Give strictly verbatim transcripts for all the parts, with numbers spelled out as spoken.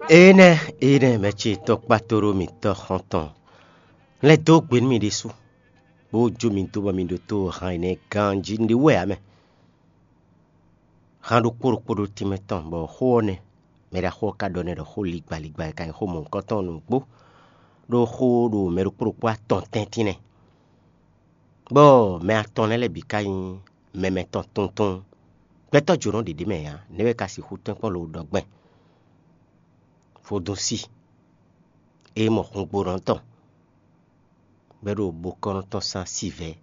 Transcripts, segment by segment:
Énɛ́, énɛ́ mɛ ce tɔkpátóɖó mǐtɔn xɔ́ntɔn lɛ́ dó gbe nú mì ɖésú, bó jó mi dó bɔ mi ɖótó han énɛ́ ganjí. Un ɖe wú wɛ ǎ mɛ. Han ɖokpó ɖokpó ɖo tínmɛ tɔn, bɔ xó ɔ́ nɛ́, mɛ ɖaxó ɔ́ ka ɖɔ nɛ́ ɖɔ xó ligba ligba e ka nyí xó mɔ̌hunkɔtɔn ɔ́ nǔgbó, ɖó xó ɖo mɛ ɖokpó ɖokpó atɔn tɛ́ntin nɛ́. Bɔ mɛ atɔn lɛ́ɛ lɛ́ɛ bǐ ka nyí mɛ mɛtɔn tuntun. Gbɛtɔ́ jǒnɔ ɖě ɖ'é mɛ ǎ, nɛ̌ wɛ ka sixú tɛ́nkpɔ́n lo ɖɔ gbɛn? Vodúnsi e mɔ hungbonɔ tɔn, bɔ é ɖo bokɔ́nɔ tɔn sín asivɛ́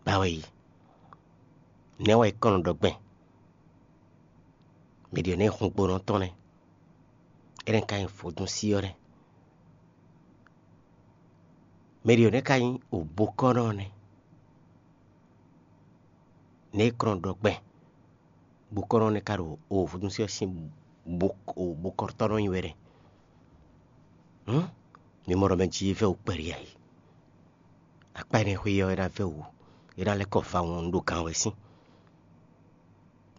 ba wɛ yi. Nɛ̌ wɛ é kɔn nɔ ɖɔ gbɛn? Mɛ ɖě nɛ́ hungbonɔ tɔn nɛ́, énɛ́ ka nyí vodúnsi ɔ́ nɛ́. Mɛ ɖě nɛ́ ka nyí obokɔ́nɔ nɛ́. Nɛ̌ é kɔn nɔ ɖɔ gbɛn? Bokɔ́nɔ nɛ́ ka ɖo ovodúnsi ɔ́ sín bokɔ́tɔ́ nɔ nyi wɛ nɛ́. Hǔn, mi mɔ ɖɔ mɛ jí vɛ́ wǔ kpɛɖé ǎ é. Akpá énɛ́ xwé ɔ́, é ná vɛ́ wǔ, é ná lɛ́ kɔ va wɔn ɖo gǎn wɛ sín.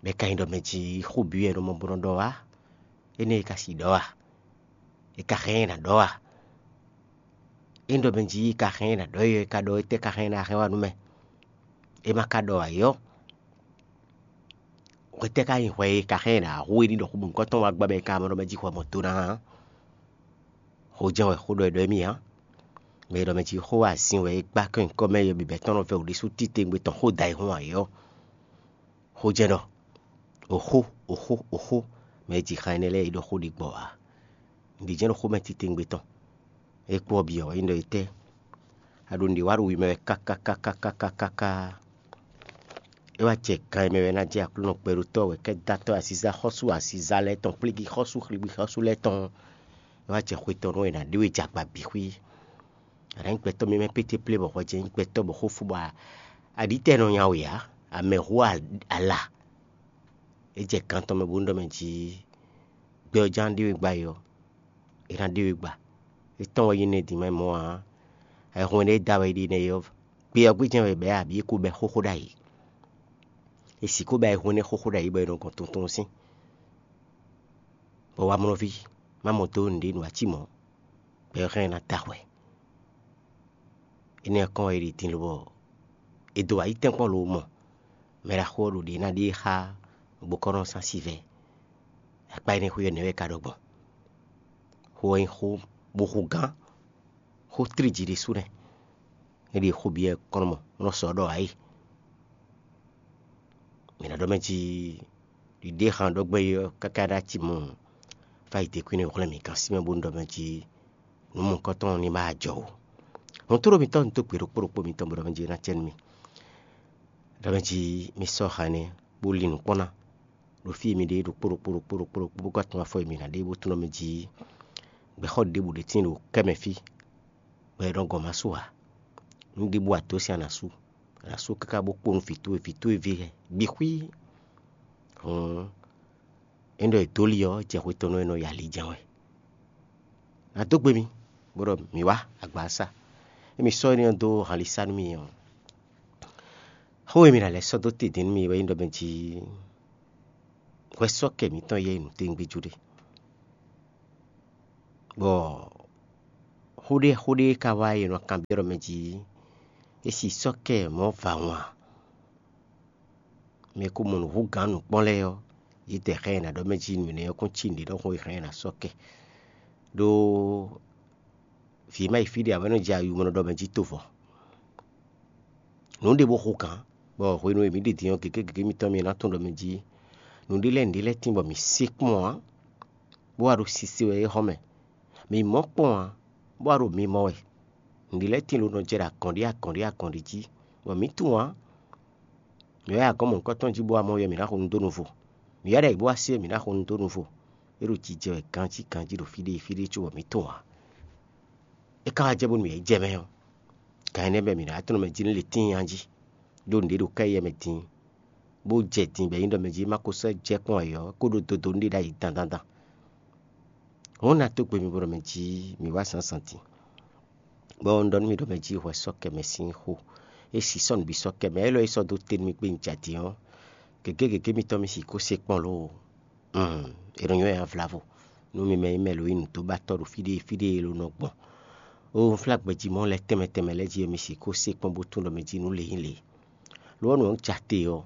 Bɔ é ka nyí ɖɔ mɛ jí xó bǐ wɛ è nɔ mɔ bó nɔ ɖɔ wá. Énɛ́ é ka sixú ɖɔ a? È ka hɛn ɛ ná ɖɔ a? É ɖɔ mɛ jí ka hɛn ɛ ná ɖɔ é, é ka ɖɔ étɛ́ ka hɛn ɛ ná hɛn wá nú mɛ? É ma ka ɖɔ ǎ é ɔ́, hwetɛ́ ka nyí hwɛ e ka hɛn ɛ ná hu é ɖi ɖɔ xó mɔ̌hunkɔtɔn wá gbá bɔ è ka mɔ ɖɔ mɛ jí hwɛ mɔ do ná ǎ? Xó jɛ́n wɛ xó ɖɔ è ɖɔ émí ǎ. Mɛ e ɖɔ mɛ jí xó azin wɛ é gbá kɔn nyǐkɔ mɛ e bǐbɛ́ tɔn nɔ vɛ́ wǔ ɖésú titewungbe tɔn xó da e hun ǎ é ɔ́. Xó jɛ́n ɖɔ: Oxó, oxó, oxó, mɛ e ji xan énɛ́ lɛ́ɛ é ɖɔ xó ɖigbɔ ǎ. Nǔɖé jɛ́n ɖo xó mɛ titewungbe tɔn. É kpó ɔ́ bǐ ɔ́, é nyí ɖɔ étɛ́? A ɖo nǔɖé wa ɖo wi mɛ wɛ káká káká káká káká. É wá jɛ gan e mɛ wɛ ná jɛ Aklúnɔ kpɛɖotɔ́ wɛ kɛ́dátɔ́ aziza xɔ́sú aziza lɛ́ɛ tɔn, kplígi xɔ́sú xligbi xɔ́sú lɛ́ɛ tɔn. É wá jɛ xwe tɔn nú è nǎ ɖe we jɛ agba bǐ xwí. A nǎ nyí gbɛtɔ́ mímɛ́ pété plé bɔ hwɛ jɛ nyí gbɛtɔ́ bɔ xó fú bɔ aɖítɛ́ nɔ nya we ǎ, amɛ hu ala. É jɛ gǎn tɔn mɛ bó nú ɖɔ mɛ jí gbɛ ɔ́ ján ɖe we gba é ɔ́, é ná ɖe we gba. É tɔn wɛ nyí nɛ́ din mɛ mɔ̌ ǎ. Ayihún énɛ́ e da wɛ é ɖe nɛ́ é ɔ́, gbé ɔ́ gbé jɛ́n wɛ bɛ̌ abǐ é ko bɛ́ xóxó ɖ'ayǐ. È sixú bɛ́ ayihún énɛ́ xóxó ɖ'ayǐ bɔ è nɔ gɔn tuntun sín, bɔ wamlɔ́ví má mɔ dó nǔɖé nǔ ǎ cí mɔ̌, bɔ é hɛn ná da hwɛ. Énɛ́ ɔ́ kɔn wɛ é ɖi din lobɔ è dǒ ayítɛ́nkpɔ́n lo mɔ mɛ ɖaxó ɔ́ ɖo ɖě ná ɖe xá gbokɔ́nɔ sín asivɛ́. Akpá énɛ́ xwé ɔ́ nɛ̌ wɛ é ka ɖɔ gbɔn? Xó ɔ́ nyí xó bó xú gán, xó tlíji ɖésú nɛ́. É ɖi xó byɔ́ kɔn mɔ nɔ sɔ́ ɖɔ ayé. Mǐ ná ɖɔ mɛ jí ɖiɖe xan ɖɔ gbɛ́ é ɔ́ káká ɖó acimɔ fá yi dekwín hwlɛ́n mǐ gán sí mɛ bó nú ɖɔ mɛ jí nǔ mɔ̌hunkɔtɔn ní ma jɔ o. Hɔntoɖó mitɔn un dó gbe ɖokpó ɖokpó mitɔn bó ɖɔ mɛ jí é ná cɛ nú mì. Ɖɔ mɛ jí mi sɔ́ xa énɛ́ bó lin nǔ kpɔ́n ná ɖo fí e mi ɖe ɖokpó ɖokpó ɖokpó ɖokpó ɖokpó bó ka tunwun afɔ e mi ná ɖe bó tunwun mɛ jí gbɛxɔ ɖěbǔ ɖé tíin ɖo kɛ́ mɛ fí, bɔ è nɔ gɔn ma sú ǎ. Nǔ ɖěbǔ a dǒ sin a nǎ sú, a nǎ sú káká bó kpó nú vǐ towe, vǐ towe ví lɛ́ɛ bǐ xwí. Hǔn é ɖɔ è dǒ li ɔ́, jɛ xwe tɔn nú é nɔ yi ali jɛ́n wɛ. Nǎ dó gbe mi, bó ɖɔ mǐ wá agbasa. Émi sɔ́ énɛ́ ɔ́ dó hanlisa nú mì ɔ́, xó e mi ná lɛ́ sɔ́ dó te din nú mì wɛ nyí ɖɔ mɛ jí hwɛ sɔ́ kɛ mǐtɔn yɛ nǔtɛ́ngbéjú ɖé. Bɔ xó ɖé xó ɖé ka wá e nɔ kanbyɔ́ ɖɔ mɛ jí é si sɔ́ kɛ mɔ̌ va wǎn. Mɛ e ko mɔ nǔ hú gǎn nǔkpɔ́n lɛ́ɛ ɔ́, yě dɛ xá ɛ ná ɖɔ mɛ jí nǔ énɛ́ ɔ́ kún cí nǔɖé ɖɔhun e xá ɛ ná sɔ́ kɛ. Ɖó vǐ ma yi fí ɖé ǎ, bɔ é nɔ jɛ ayumɔnɔ ɖɔ mɛ jí tovɔ. Nǔ ɖé bó xo gǎn, bɔ hwenu e mǐ ɖi din ɔ́, gěgé gěgé mitɔn mi ná tunwun ɖɔ mɛ jí nǔɖé lɛ́ɛ nǔɖé lɛ́ɛ tín bɔ mǐ se kpɔ́n ǎ, bó wá ɖo sise wɛ é xɔ mɛ. Mǐ mɔ kpɔ́n ǎ, bó wá ɖo mi mɔ wɛ. Nǔɖé lɛ́ɛ tín ló nɔ jɛ ɖo agɔ̌n ɖé agɔ̌n ɖé agɔ̌n ɖé jí, bɔ mǐ tunwun ǎ. Mǐ wá yi agɔ̌n mɔ̌hunkɔtɔn jí bó wá mɔ yɛ mǐ ná xo nu dó nuvo. Mǐ wá ɖo ayǐ bó wá se mǐ ná xo nu dó nuvo. É ɖo jijɛ wɛ ganjí ganjí ɖo fí ɖé fí ɖé cóbɔ mǐ tunwun ǎ. É ka wá jɛ bónú mǐ yi jɛ mɛ ɔ́, gan énɛ́ mɛ mǐ ná tunwun mɛ jí nú le tíin jí, ɖó nǔɖé ɖo ká yɛ mɛ din, bó jɛ din bɔ é nyí ɖɔ mɛ jí má ko sɔ́ jɛ kpɔ́n ayǐ ɔ́, é ko ɖó dodó nú ɖé ɖ'ayǐ dandandan. Hɔn ná dó gbe mi bó ɖɔ mɛ jí mǐ wá zǎnzǎn din. Bɔ un ɖɔ nú mi ɖɔ mɛ jí hwɛ sɔ́ kɛ mɛ sín xo. É si sɔ́ nǔ bǐ sɔ́ kɛ mɛ, élɔ́ é sɔ́ dó te nú mi kpé un jɛ din ɔ́, gěgé gěgé mitɔn mi sixú se kpɔ́n ló? Mm, è nɔ nywɛ́ avlavo. nú mi mɛ e nyí mɛ lo nyí nǔdóbatɔ́ ɖo fí ɖé fí ɖé e lo nɔ gbɔn. Ó, un flá gbɛjimɔ lɛ́ɛ tɛnmɛ tɛnmɛ lɛ́ɛ jí e mi sixú se kpɔ́n bó tunwun ɖɔ mɛ jí nǔ le nyí le. Lo ɔ́, nǔ ɔ́, un ja te ɔ́,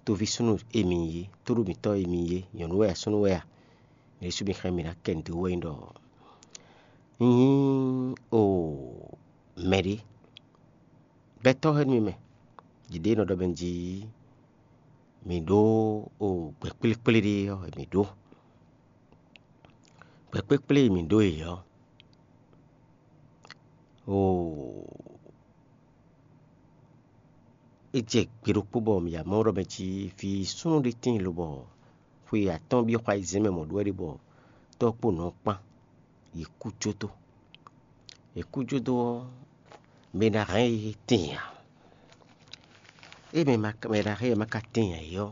toví súnnu e mi nyí é, tóɖó mǐtɔn e mi nyí é, nyɔ̌nu wɛ a, súnnu wɛ a, mi ɖésú mi xlɛ́ mi ná kɛ nǔ dó wɛ nyí ɖɔ un nyí o mɛɖé. Gbɛtɔ́ hɛn nú mi mɛ, ɖiɖe e nɔ ɖɔ mɛ jí mǐ ɖó o gbɛ kplékplé ɖé ɔ́, mǐ ɖó gbɛ kplékplé e mǐ ɖó e ɔ́, o é jɛ gbe ɖokpó bɔ mǐ ya mɔ ɖɔ mɛ jí vǐ súnnu ɖé tíin lobɔ xwe atɔ́ɔ́n byɔ́ xwa ayizɛ́n mɛ mɔ̌ ɖó wɛ ɖe bɔ tɔ́ kpó nɔ kpán, yě kú jódó. Yě kú jódó ɔ́, mɛ ná hɛn yě tíin ǎ. É mɛ ma mɛ ná hɛn yě ma ka tíin ǎ é ɔ́,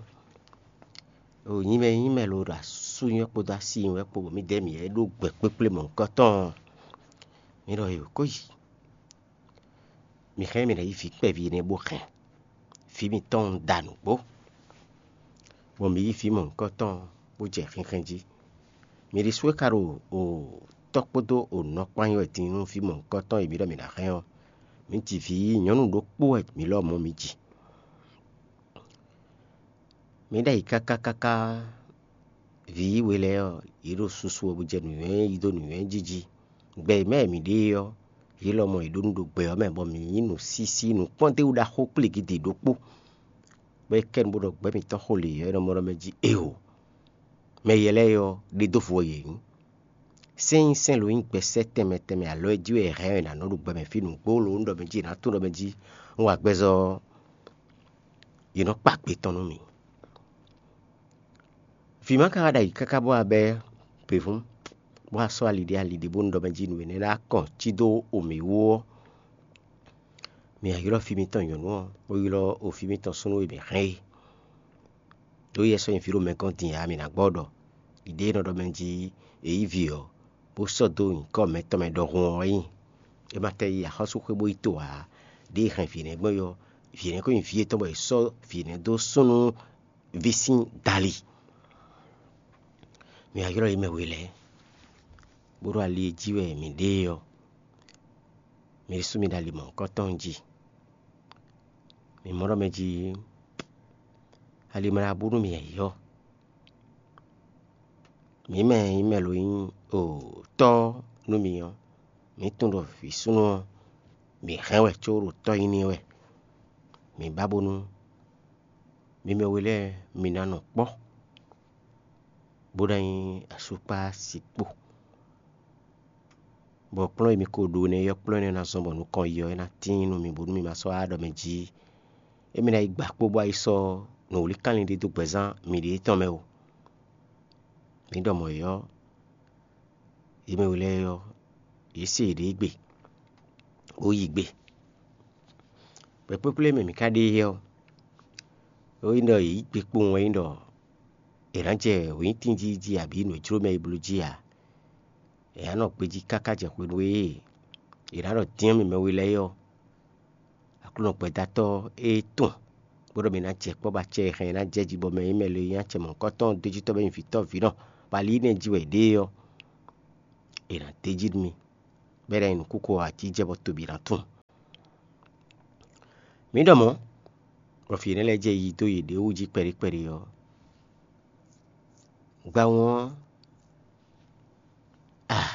o nyí mɛ nyí mɛ lo ɖo asú nywɛ́ kpódó así nywɛ́ kpó bɔ mǐ dɛ́ mǐ yɛ ɖó gbɛ kpékplé mɔ̌hunkɔtɔn ɔ́, mǐ ɖɔ yě ko yi. Mi hɛn mì ná yí vǐ kpɛví énɛ́ bó hɛn vǐ mitɔn da nǔgbó, bɔ mǐ yí vǐ mɔ̌hunkɔtɔn bó jɛ xinxɛn jí. Mi ɖésú e ka ɖo o tɔ́ kpódó o nɔ kpán nyi wɛ din nú vǐ mɔ̌hunkɔtɔn e mi ɖɔ mǐ ná hɛn ɔ́, mǐ ji vǐ nyɔ̌nu ɖokpó wɛ mǐ lɔmɔ̌ mǐ ji. Mǐ ɖ'ayǐ káká káká. Vǐ we lɛ́ɛ ɔ́, yě ɖo susu wɛ bó jɛ nǔnywɛ́ yí dó nǔnywɛ́ jí jí. Gbɛ e mɛ e mǐ ɖe é ɔ́, yě lɔmɔ̌ yě ɖó nǔ ɖo gbɛ ɔ́ mɛ, bɔ mǐ nyí nǔsísí nǔkpɔ́ndéwúɖaxó kplígídi ɖokpó, bɔ é kɛ nu bó ɖɔ gbɛ̌ mǐtɔn xo lě ɔ́, é nɔ mɔ ɖɔ mɛ jí: Éeǒ! Mɛ yɛ lɛ́ɛ ɔ́, ɖe dó vo wɛ yě nyí. Sɛ́n nyí sɛ́n lo nyí gbɛsɛ́ tɛnmɛ tɛnmɛ alɔ e jí wɛ è hɛn ɛ nǎ nɔ ɖo gbɛ mɛ fí nǔgbó lo un ɖɔ mɛ jí è nǎ tunwun ɖɔ mɛ jí un wa gbɛzɔ́ ɔ́, yě nɔ kpa gbe tɔn nú mì. Vǐ ma ka wá ɖo ayǐ káká bó wá bɛ́ gběvún, bó wá sɔ́ ali ɖé ali ɖé bónú ɖɔ mɛ jí nǔ énɛ́ ná kɔn cí dó o mǐ wú ɔ́, mǐ wá ylɔ́ fí mitɔn nyɔ̌nu ɔ́, bó ylɔ́ o fí mitɔn súnnu e mǐ hɛn é, ɖó yɛ sɔ́ nyi vǐ ɖo mɛ gɔ́n din ǎ, mǐ ná gbɔ ɖɔ ɖiɖe e nɔ ɖɔ mɛ jí è yí vǐ ɔ́, bó sɔ́ dó nyǐkɔ mɛtɔn mɛ ɖɔhun ɔ́ wɛ nyí. É ma tɛ yi axɔ́súxwé bó yi to ǎ, ɖěe è hɛn vǐ énɛ́ gbɔn é ɔ́, vǐ énɛ́ ko nyí vǐ yětɔn bɔ è sɔ́ vǐ énɛ́ dó súnnu ví sín dali. Mi wá ylɔ́ yě mɛ we lɛ́ɛ, bó ɖo ali e jí wɛ mǐ ɖe é ɔ́, mi ɖésú mi ɖo ali mɔ̌hunkɔtɔn jí. Mi mɔ ɖɔ mɛ jí ali ma ɖo abú nú mi ǎ ɔ́, mǐ mɛ e nyí mɛ lo nyí o tɔ́ nú mi ɔ́, mǐ tunwun ɖɔ vǐ súnnu ɔ́, mǐ hɛn wɛ có ɖo tɔ́ nyí n'i wɛ. Mǐ ba bónú mi mɛ we lɛ́ɛ mi ná nɔ kpɔ́, bó ná nyí asú kpó asi kpó, bɔ kplɔ́n e mi ko ɖó nɛ́ ɔ́, kplɔ́n énɛ́ ná zɔ́n bɔ nukɔn yi ɔ́, é ná tíin nú mi bónú mi ma sɔ́ wá ɖɔ mɛ jí émí ná yi gba kpó bó wá yi sɔ́ nǔwlíkánlin ɖé dó gbɛzán miɖée tɔn mɛ ó. Mi ɖɔ mɔ̌ é ɔ́, yě mɛ we lɛ́ɛ ɔ́, yě se yěɖée gbe, bó yi gbe. Gbɛ̌ kplékplé mɛ mǐ ka ɖe é ɔ́, é nyí ɖɔ yě yí gbe kpowun wɛ nyí ɖɔ è nǎ jɛ wěnyítín jí jí abǐ nǔ e jló mɛ yi bló jí ǎ. È nǎ nɔ gbejí káká jɛ hwenu e è nǎ ɖɔ dyɛ́n mì mɛ we lɛ́ɛ é ɔ́, Aklúnɔ gbɛdatɔ́ e tun bó ɖɔ mǐ ná jɛ kpɔ́ bɔ acɛ e hɛn ɛ ná jɛ jí bɔ mɛ e nyí mɛ le e nyí acɛ mɔ̌hunkɔtɔn ɔ́ dó jí tɔ́ bɔ é nyí vǐ tɔ́ vǐ nɔ, bɔ ali énɛ́ jí wɛ è ɖe é ɔ́, è nǎ d'é jí nú mì, bɔ é ná nyí nǔkúkú ɔ́ atíjɛ bɔ tobi ná tunwun. Mǐ ɖɔ mɔ̌, bɔ vǐ énɛ́ lɛ́ɛ jɛ yiyi dó yěɖée wú jí kpɛɖé kpɛɖé ɔ́, gbawun ɔ́, ah,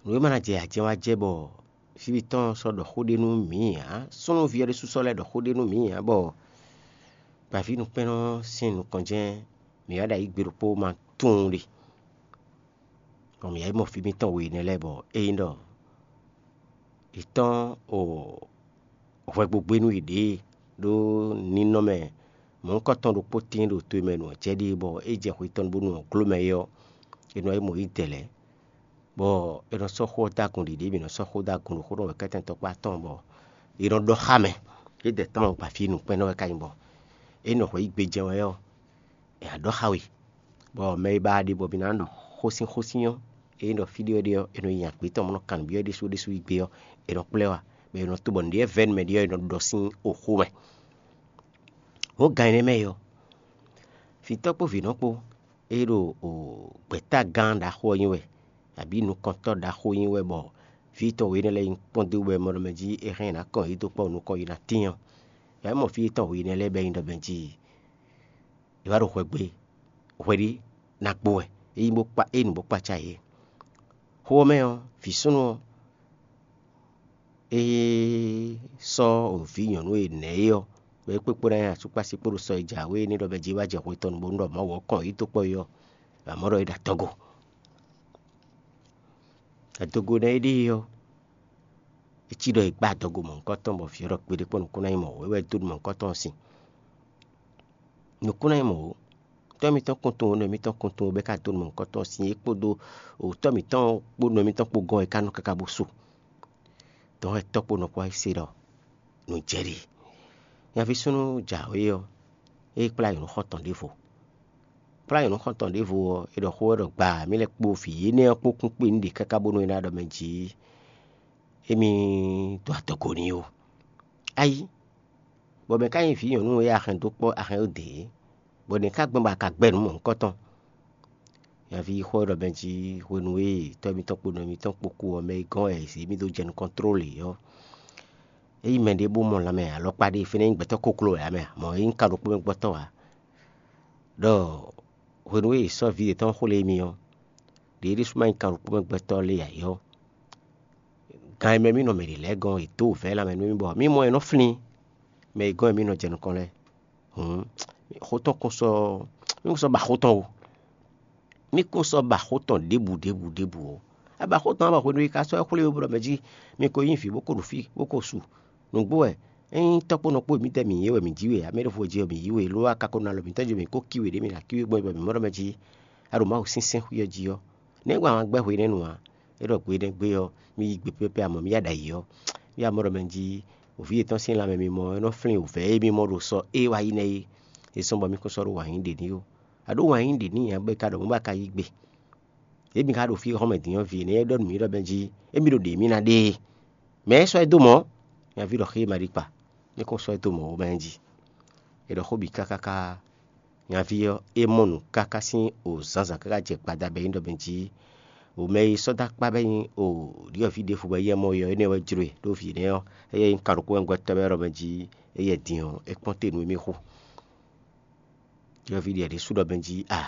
nǔ e ma ná jɛ ajɛn wá jɛ bɔ fí mitɔn sɔ́ ɖɔ xó ɖé nú mǐ ǎ, súnnuví ɔ́ ɖésú sɔ́ lɛ́ ɖɔ xó ɖé nú mǐ ǎ, bɔ gbǎví nukpɛ́nnɔ sín nukɔn jɛ́n mǐ wá ɖo ayǐ gbe ɖokpó ma tunwun ɖe. Bɔ mǐ wá yi mɔ fí mitɔn we énɛ́ lɛ́ɛ, bɔ é nyí ɖɔ è tɔ́n o hwɛgbogbé nú yěɖée ɖó ninɔmɛ mɔ̌hunkɔtɔn ɖokpó tíin ɖo to e mɛ nǔ ɔ́ jɛ ɖe, bɔ é jɛ xwe tɔn bónú ɔ́ gló mɛ é ɔ́, è nɔ yi mɔ yí dɛ̌ lɛ́ɛ, bɔ è nɔ sɔ́ xó ɔ́ dó agun ɖiɖě, mǐ nɔ sɔ́ xó dó agun ɖo xó ɖɔ wɛ kɛ́tɛn tɔkpá tɔn, bɔ è nɔ ɖɔ xá mɛ. É dɛ tɔn gba fí nukpɛ́nnɔ wɛ ka nyí, bɔ é nɔ hwɛ yí gbe jɛ́n wɛ ɔ́, è nǎ ɖɔ xá we, bɔ mɛ e ba ɖe bɔ mǐ ná ɖɔ xósínxósín ɔ́, ényí ɖɔ fí ɖé wɛ ɖe ɔ́, è nɔ nyi agbě tɔn bó nɔ́ kan nǔ byɔ́ ɖésú ɖésú yí gbe ɔ́, è nɔ kplá ɛ wá, bɔ è nɔ to bɔ nǔɖé vɛ́ nú mɛ ɖé ɔ́, è nɔ ɖɔ sín oxó mɛ. Hǒgan énɛ́ mɛ ɔ́, vǐtɔ́ kpó vǐnɔ kpó, é ɖo gbɛ̌tagán ɖaxó ɔ́ nyi wɛ, abǐ nukɔntɔ́ ɖaxó nyi wɛ, bɔ vǐ tɔn wěnɛ́ lɛ́ɛ nyi kpɔ́n dó wɛ mɔ ɖɔ mɛ jí é hɛn ná kɔn yě dó kpɔ́ nukɔn yi ná tín ɔ́, yǎ mɔ fí tɔn wěnɛ́ lɛ́ɛ bɔ é nyí ɖɔ mɛ jí è wǎ ɖo hwɛ gbe, hwɛ ɖé ná kpo wɛ, é nyí bó kpá é nu bó kpácá yě. Xó ɔ́ mɛ ɔ́, vǐ súnnu ɔ́, é sɔ́ vǐ nyɔ̌nu e nɛ̌ é ɔ́, bɔ é kpékpó ná nyi asúkpási kpódó sɔ e jǎwe énɛ́ ɖɔ mɛ jí wá jɛ hwe tɔn nu bónú ɖɔ Mawu ɔ́ kɔn yě dó kpɔ́ é ɔ́, amɔ̌ ɖɔ é ɖo adɔgo. Adɔgo nɛ́ é ɖe é ɔ́, é cí ɖɔ è gbá adɔgo mɔ̌hunkɔtɔn bɔ vǐ ɔ́ ɖɔ kpeɖé kpɔ́n nukún ná nyí mɔ̌, é wɛ dó nú mɔ̌hunkɔtɔn ɔ́ sin. Nukún ná nyí mɔ̌ ó. Tɔ́ mitɔn kún tunwun, nɔ mitɔn kún tunwun bɔ é ka dó nɔ mɔ̌hunkɔtɔn ɔ́ sin é kpódó tɔ́ mǐtɔn kpó nɔ mitɔn kpó gɔ́n é ka nɔ káká bó su. Dɔ̌n wɛ tɔ́ kpó nɔ kpó wá se ɖɔ nǔ jɛ ɖe. Nyaví súnnu jǎwe ɔ́, é kplá nyɔ̌nu xɔ́ntɔn ɖěvo. Kplá nyɔ̌nu xɔ́ntɔn ɖěvo ɔ́, é ɖɔ xó ɔ́ ɖɔ gbaa mǐ lɛ́ kpó vǐ énɛ́ ɔ́ kpó kún kpé nǔɖé káká bónú é ná ɖɔ mɛ jǐ émí dó adɔgo n'i ó. Ayí, bɔ mɛ ka nyí vǐ nyɔ̌nu e a hɛn dó kpɔ́ a hɛn dó dě, bɔ nɛ̌ ka gbɔn bɔ a ka gbɛ́ nǔ mɔ̌hunkɔtɔn? Nyaví xó ɔ́ ɖɔ mɛ jí hwenu e tɔ́ mitɔn kpó nɔ mitɔn kpó kú ɔ́, mɛ e gɔ́n wɛ yě mì dó jɛ nukɔn tlólě ɔ́, é nyí mɛɖé bó mɔ lanmɛ alɔkpa ɖé, fínɛ́ nyí gbɛtɔ́ kokló wɛ ǎ mɛ ǎ, mɔ̌ é nyí ka ɖokpó mɛ gbɔtɔ́ ǎ. Ɖɔ hwenu e è sɔ́ vǐ yětɔn xwlé émí ɔ́, ɖě é ɖésú ma nyí kan ɖokpó mɛ gbɛtɔ́ lé ǎ é ɔ́, gan e mɛ mì nɔ mɛ ɖě lɛ́ɛ gɔ́n è dǒ wǔvɛ́ lanmɛ nú mì bɔ mì mɔ ɛ nɔ flín mɛ e gɔ́n e mì nɔ jɛ nukɔn lɛ́ɛ. Hǔn xó tɔn kún sɔ́ mì kún sɔ́ ba xó tɔn ó. Mì kún sɔ́ ba xó tɔn ɖěbǔ ɖěbǔ ɖěbǔ ó. A ba xó tɔn ɔ́ bɔ hwenu e ka sɔ́ ɛ xwlé we bó ɖɔ mɛ jí mi ko nyí vǐ bó ko ɖo fí bó ko su. Nǔgbó wɛ, ényí tɔ́ kpó nɔ kpó mǐtɛn mǐ yí we, mǐ jí we ǎ, mɛ ɖěvo jí we mǐ yí we, lo wá ka ko ná lɔ mǐtɔn jí we, mǐ ko cí we ɖě mǐ ná cí we gbɔn bɔ mǐ mɔ ɖɔ mɛ jí a ɖo Mawu sínsɛ́n xwí ɔ́ jí ɔ́, nɛ̌ gbɔn ahwan gbɛ́ hwenɛ́nu ǎ? É ɖɔ gbe énɛ́ gbe ɔ́, mì yi gbe pɛ́pɛ́ amɔ̌ mì ya ɖo ayǐ ɔ́, mì ya mɔ ɖɔ mɛ jí wǒví yětɔn sín lanmɛ mimɔ é nɔ flín wǔvɛ́ e mì mɔ ɖo sɔ é wá yi nɛ́ é. É sɔ́ bɔ mì kún sɔ́ ɖó wǎn yí ɖě n'i ó. A ɖǒ wǎn yí ɖě n'i ǎ bɔ é ka ɖɔ mɔ̌ bɔ a ka yí gbe. Ěbí ka ɖo fí xɔ́mɛ din ɔ́, vǐ énɛ́ e ɖɔ nú mǐ ɖɔ mɛ jí émí ɖo ɖě mì ná ɖe é. Mɛ̌ sɔ́ ɛ dó mɔ̌? Nyaví ɖɔ xé ma ɖi kpa, mì kún sɔ́ ɛ dó mɔ̌ ó mɛ jí. È ɖɔ xó bǐ káká káká, nyaví ɔ́, é mɔ nǔ káká sín o zǎnzǎn káká jɛ gbadá bɔ é nyí ɖɔ mɛ jí o mɛ e sɔ́ dó akpá bɔ é nyí o ɖyɔ̌vǐ ɖěvo bɔ éyɛ́ mɔ ɔ́, énɛ́ wɛ jló e ɖó vǐ énɛ́ ɔ́, éyɛ́ nyí kanɖokpó wɛ gbɛtɔ́ wɛ ɖɔ mɛ jí éyɛ́ din ɔ́, é kpɔ́n te nú émí xo. Ɖyɔ̌vǐ ɖě ɖésú ɖɔ mɛ jí a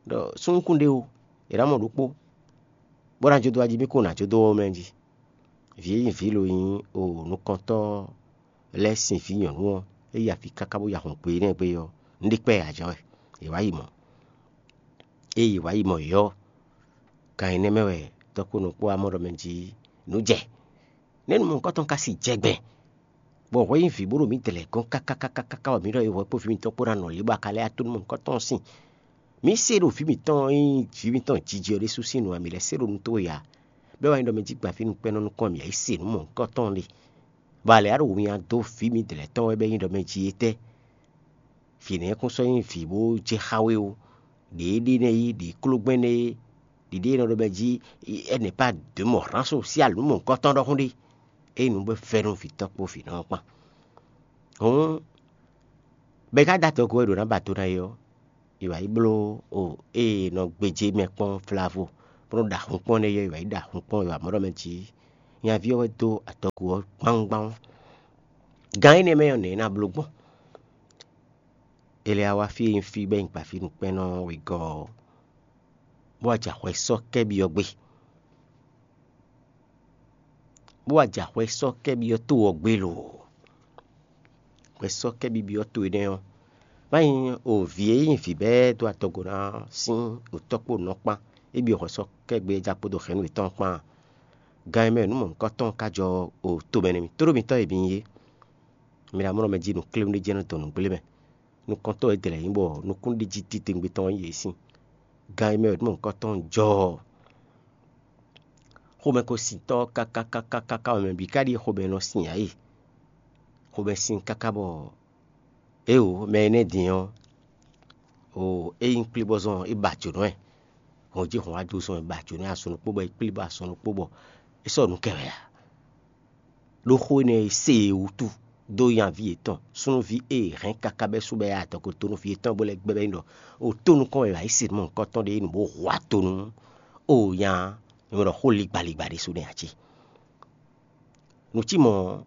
ɖɔ súnnu kún ɖé o, è nǎ mɔ ɖokpó, bó ná jó dó wá jí mì kún nǎ jó dó ɔ́ mɛ jí. Vǐ e nyí vǐ lo nyí o nukɔntɔ́ lɛ́ɛ sín vǐ nyɔ̌nu ɔ́, é yi afí káká bó yi ahɔn gbe énɛ́ gbe ɔ́, un ɖe kpɛ́ ǎ jɛ́n wɛ, è wǎ yi mɔ̌. Ée è wǎ yi mɔ yě ɔ́, gan énɛ́ mɛ wɛ tɔ́kpónɔ kpó wá mɔ ɖɔ mɛ jí nǔ jɛ. Nɛ̌ nu mɔ̌hunkɔtɔn ka si jɛ gbɛn, bɔ hwɛ nyí vǐ bó ɖo mǐ dlɛ̌ gɔ́n káká káká káká bɔ mǐ ɖɔ é hwɛ kpó vǐ mǐtɔn kpó ná nɔ lě bɔ a ka lɛ́ wá tó nú mɔ̌hunkɔtɔn sín? Mǐ se ɖo vǐ mǐtɔn e nyí vǐ mǐtɔn jiji ɔ́ ɖésú sín nu ǎ, mǐ lɛ́ se ɖo nú towe ǎ. Bɔ é wá nyí ɖɔ mɛ jí gbafínú kpɛ́nɔ nukɔn mǐ yi se nǔ mɔ̌hunkɔtɔn ɖe. Bɔ a lɛ̌ wá ɖo winnyá dó vǐ mǐdɛɛ lɛ́ɛ tɔn wɛ bɔ é nyí ɖɔ mɛ jí étɛ́? Vǐ nɛ́ kún sɔ́ nyí vǐ bó jɛ xá we ó. Ɖě é ɖe nɛ́ yí, ɖě klógbɛ́n nɛ́ é, ɖě ɖé e nɔ ɖɔ mɛ jí, elle n'est pas demeurant social nǔ mɔ̌hunkɔtɔn ɖɔhun ɖé. É nyí nǔ bɔ é vɛ́ nú vǐtɔ́ kpó vǐnɔ ɔ́ kpán. Hǔn bɔ é ka dó adɔgo e ɖǒ ná ba do ná é ɔ́, è wǎ yi bló o ée è nɔ gbéjé mɛ kpɔ́n vlavo, bó nɔ́ ɖo ahun kpɔ́n nɛ́ é ɔ́, è wǎ yi ɖo ahun kpɔ́n, è wǎ mɔ ɖɔ mɛ jí nyaví ɔ́ wɛ dó adɔgo ɔ́ gbáwúgbáwú. Gan énɛ́ mɛ ɔ́, nɛ̌ é ná bló gbɔn? È lɛ́ wá wá fí e nyí fí bɔ é nyí gbafínú kpɛ́nɔ wegɔ́ ɔ́, bó wá jɛ ahwɛ sɔ́ kɛ́ byɔ́ gbé, bó wá jɛ ahwɛ sɔ́ kɛ́ byɔ́ to ɔ́ gbé lo. Hwɛ sɔ́ kɛ́ byɔ́ to énɛ́ ɔ́, má nyí o vǐ e nyí vǐ bɔ é dó adɔgo ná sín o tɔ́ kpó nɔ kpán, é byɔ́ hwɛ sɔ́ kɛ́ gbé é já kpódó hɛ̌nnu yětɔn kpán. Gan e mɛ nǔ mɔ̌hunkɔtɔn ka jɔ o tomɛ nú mì, tóɖó mitɔ́ e mi nyí é. Mi ná mlɔ́ mɛ jí nǔkléwún ɖé jɛ́n nɔ dɔn nǔgblé mɛ. Nukɔntɔ́ e dlɛ̌ nyí bɔ nukúnɖéjí titewungbe tɔn nyí yě sín. Gan e mɛ wɛ nǔ mɔ̌hunkɔtɔn jɔ ɔ́, xomɛkosintɔ́ káká káká káká wɛ mɛ bǐ ka ɖíe xomɛ nɔ sin ǎ e. Xomɛ sin káká bɔ éwo mɛ énɛ́ din ɔ́, o é nyí kplíbɔ́zɔn é ba jǒnɔ ɛ. Hɔn jí hɔn wá dó zɔn é ba jǒnɔ ɛ asɔn ɖokpó bɔ é kplí bɔ asɔn ɖokpó bɔ é sɔ́ nǔ kɛ wɛ ǎ. Ɖó xó énɛ́ e se e wútu dó nyaví yětɔn súnnuví e è hɛn káká bɛ́ sú bɛ́ adɔgo tónúví yětɔn bó lɛ́ gbɛ́ bɛ́ nyi ɖɔ o tó nukɔn wɛ è wǎ yi se mɔ nǔkɔntɔn ɖé nǔ bó hu atonu. O nya, nyɔ̌ ɖɔ xó ligbaligba ɖésú nɛ́ ǎ cé? Nǔ cí mɔ̌ ɔ́,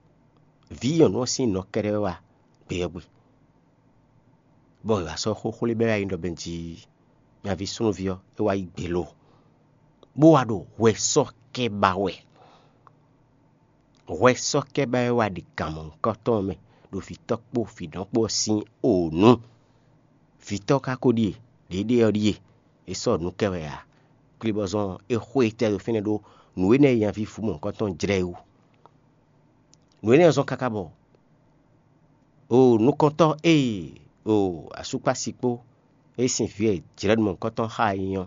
vǐ nyɔ̌nu ɔ́ sín nɔ kɛ́ɖɛ́ wɛ wá gbeyɛ́gbe, bɔ è wǎ sɔ́ xó xwlé bɛ́ wá yi ɖɔ bɛ́ jí nyaví súnnuví ɔ́ é wá yi gbe lo, bó wá ɖo hwɛsɔ́kɛ́ ba wɛ. Hwɛsɔ́kɛ́ ba wɛ wá ɖi gǎn mɔ̌hunkɔtɔn ɔ́ mɛ ɖo vǐtɔ́ kpó vǐnɔ kpó ɔ́ sín o nǔ. Vǐtɔ́ ka ko ɖíe, ɖěɖée ɔ́ ɖíe, é sɔ́ nǔ kɛ wɛ ǎ. Klibɔzɔn ɔ́, é xo etɛ́ ɖo fínɛ́ ɖó nǔ énɛ́ e nyaví vǔ mɔ̌hunkɔtɔn jlɛ́ é wú. Nǔ énɛ́ ɔ́ zɔ́n káká bɔ o nukɔntɔ́ e o asúkpási kpó e sín vǐ e jlɛ̌ nú mɔ̌hunkɔtɔn xá e nyí ɔ́,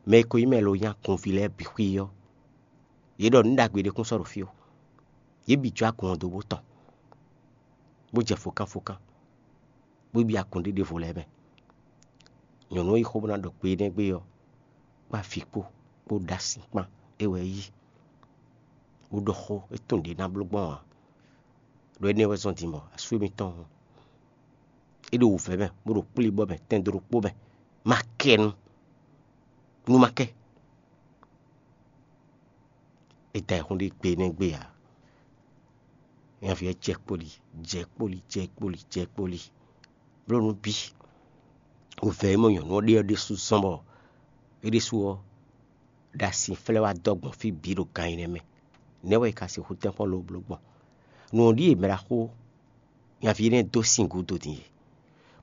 mɛ e ko nyí mɛ lo nyí agunví lɛ́ɛ bǐ xwí ɔ́, yě ɖɔ nǔ ɖagbe ɖé kún sɔ́ ɖo fí ó. Yě bǐ jó agun ɔ́ dó bó tɔn, bó jɛ fokánfokán, bó byɔ́ agun ɖé ɖěvo lɛ́ɛ mɛ. Nyɔ̌nu e yí xó bó ná ɖɔ gbe énɛ́ gbe ɔ́, kpó avi kpó, kpó ɖó asi kpán, é wɛ é yí, bó ɖɔ xó e tunwun ɖě ná bló gbɔn ǎ. Ɖo énɛ́ wɛ zɔ́n din bɔ asú émítɔn ɔ́, é ɖo wǔvɛ́ mɛ, bó ɖo kplíbɔ́ mɛ, tɛn dó ɖokpó mɛ, ma kɛ nu, nú ma kɛ. È da ayǐhún ɖé gbe énɛ́ gbe ǎ. Nyaví ɔ́ jɛ kpoli, jɛ kpoli, jɛ kpoli, jɛ kpoli, bló nú bí. Wǔvɛ́ e mɔ nyɔ̌nu ɔ́ ɖe ɔ́ ɖésú zɔ́n bɔ é ɖésú ɔ́ ɖo asinflɛ́ wá dɔ́ gbɔn fí bǐ ɖo gan nyinɛ mɛ. Nɛ̌ wɛ è ka sixú tɛ́nkpɔ́n lobo bló gbɔn? Nǔ ɔ́ ɖíe mɛ ɖaxó nyaví énɛ́ dó sin gúdo din e,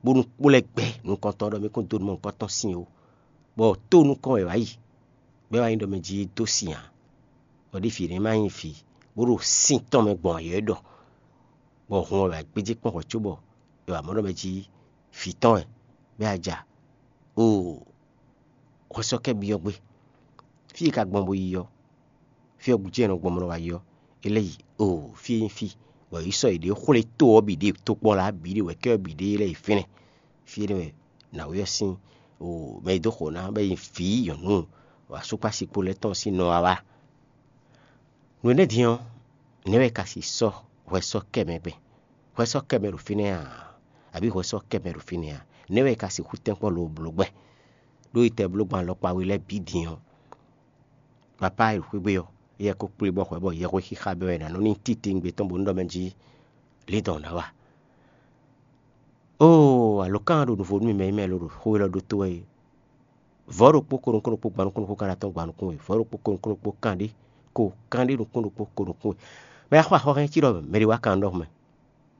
bónú kplɔ́ ɛ gbɛ nukɔntɔn ɖɔ mɛ kún dó nú mɔ nukɔntɔn sin ó, bɔ tó nukɔn wɛ wǎ yi, bɔ é wá nyí ɖɔ mɛ jí é dó sin ǎ, bɔ ɖěvi énɛ́ ma nyí vǐ, bó ɖo sin tɔn mɛ gbɔn ayɔ̌ é ɖɔ, bɔ hun wɛ wǎ gbéjé kpɔ́n hwɛ̌ cóbɔ è wǎ mɔ ɖɔ mɛ jí vǐ tɔn wɛ, bɔ é wá ja. Oo, hwɛsɔ́kɛ́ byɔ́ gbé. Fí e ka gbɔn bo yi ɔ́, fí ɔ́ gúdo e nɔ gbɔn bó nɔ wá yi ɔ́, é lɛ́ yi oo, fí e nyí fí, bɔ yě sɔ́ yěɖée xwlé to ɔ́ bǐ ɖe, tokpɔ́la bǐ ɖe, wɛ̌kɛ́ ɔ́ bǐ ɖe, é lɛ́ yi fínɛ́. Fí énɛ́ wɛ nǎwe ɔ́ sín oo, mɛ e dó xo ná bɔ é nyí vǐ nyɔ̌nu asúkpási kpo lɛ́ɛ tɔn sín nɔ wá wá. Nǔ énɛ́ din ɔ́, nɛ̌ wɛ è ka si sɔ́ hwɛsɔ́kɛ́ mɛ gbɛn? Hwɛsɔ́kɛ́ mɛ ɖo fínɛ́ ǎ, abǐ hwɛsɔ́kɛ́ mɛ ɖo fínɛ́ ǎ? Nɛ̌ wɛ è ka sixú tɛ́nkpɔ́n lobo bló gbɛn? Ɖó yi tɛ bló gbɔn alɔkpa we lɛ́ɛ bǐ din ɔ́, papá e ɖo xwé gbe ɔ́, éyɛ́ ko kplé bɔ hwɛ bɔ yɛhwexixa bɛ́ wɛ è nǎ nɔ ní titewungbe tɔn bó nú ɖɔ mɛ jí lǐndɔ̌n ná wa. Oo, alǒkan ɖo nuvo nú mì mɛ e mɛ lo ɖo xó élɔ́ ɖótó wɛ é. Vɔ̌ ɖokpó ko nukún ɖokpó gban nukún ɖokpó kan atɔ́ɔ́n gban nukún we, vɔ̌ ɖokpó ko nukún ɖokpó kanɖé ko kanɖé nukún ɖokpó ko nukún we. Mɛ e xo axɔ́ hɛn cí ɖɔ mɛ ɖě wá kan ɖɔhun mɛ,